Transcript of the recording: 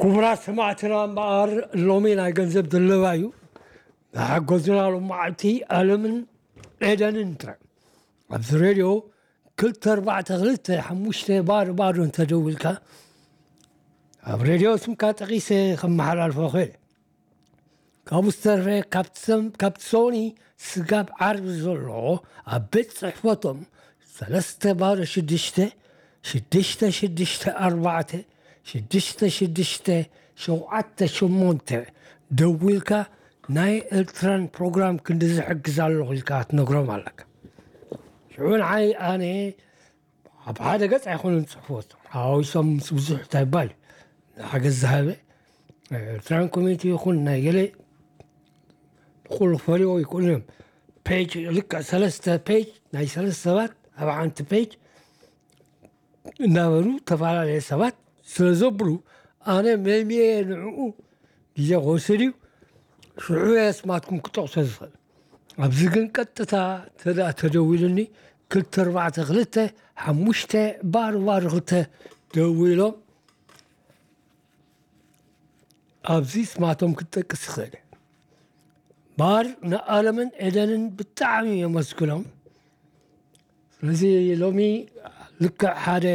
ክቡራት ሰማዕትና እምበኣር፣ ሎሚ ናይ ገንዘብ ድለባ እዩ። ንሓገዙና ሎም መዓልቲ ኣለምን ኤደንን ጥራይ። ኣብዚ ሬድዮ ክልተ ኣርባዕተ ክልተ ሓሙሽተ ባዶ ባዶ እንተደዊልካ፣ ኣብ ሬድዮ ስምካ ጠቒሰ ከመሓላልፎ ኽእል። ካብኡ ዝተረፈ፣ ካብቲ ሶኒ ስጋብ ዓርቢ ዘሎ ኣብ ቤት ጽሕፈቶም ሰለስተ ባዶ ሽዱሽተ ሽዱሽተ ሽዱሽተ ኣርባዕተ ሽዱሽተ ሽዱሽተ ሸውዓተ ሸሞንተ ደዊልካ፣ ናይ ኤርትራን ፕሮግራም ክንዲ ዝሕግዝ ኣለኹ ኢልካ ትነግሮም ኣለካ። ሽዑ ንዓይ ኣነ ኣብ ሓደ ገጽ ኣይኮኑን ጽሕፎት ሓዊሶም ምስ ብዙሕ እንታይ ይባል ሓገዝ ዝሃበ ኤርትራን ኮሚኒቲ ይኹን ናይ ገለ ኩሉ ፈሪዎ ይኮኑ እዮም። ፔጅ ልክዕ ሰለስተ ፔጅ ናይ ሰለስተ ሰባት ኣብ ሓንቲ ፔጅ እናበሉ ተፈላለየ ሰባት ስለ ዘብሉ፣ ኣነ መሚየ ንዕኡ ግዜ ክወስድ እዩ። ሽዑ እየ ስማትኩም ክጠቕሶ ዝኽእል። ኣብዚ ግን ቀጥታ ተዳ ተደዊሉኒ ክልተ ኣርባዕተ ክልተ ሓሙሽተ ባዶ ባዶ ክልተ ደዊሎም ኣብዚ ስማቶም ክትጠቅስ ይኽእል። ባር ንኣለምን ኤደንን ብጣዕሚ የመስግኖም። ስለዚ ሎሚ ልክዕ ሓደ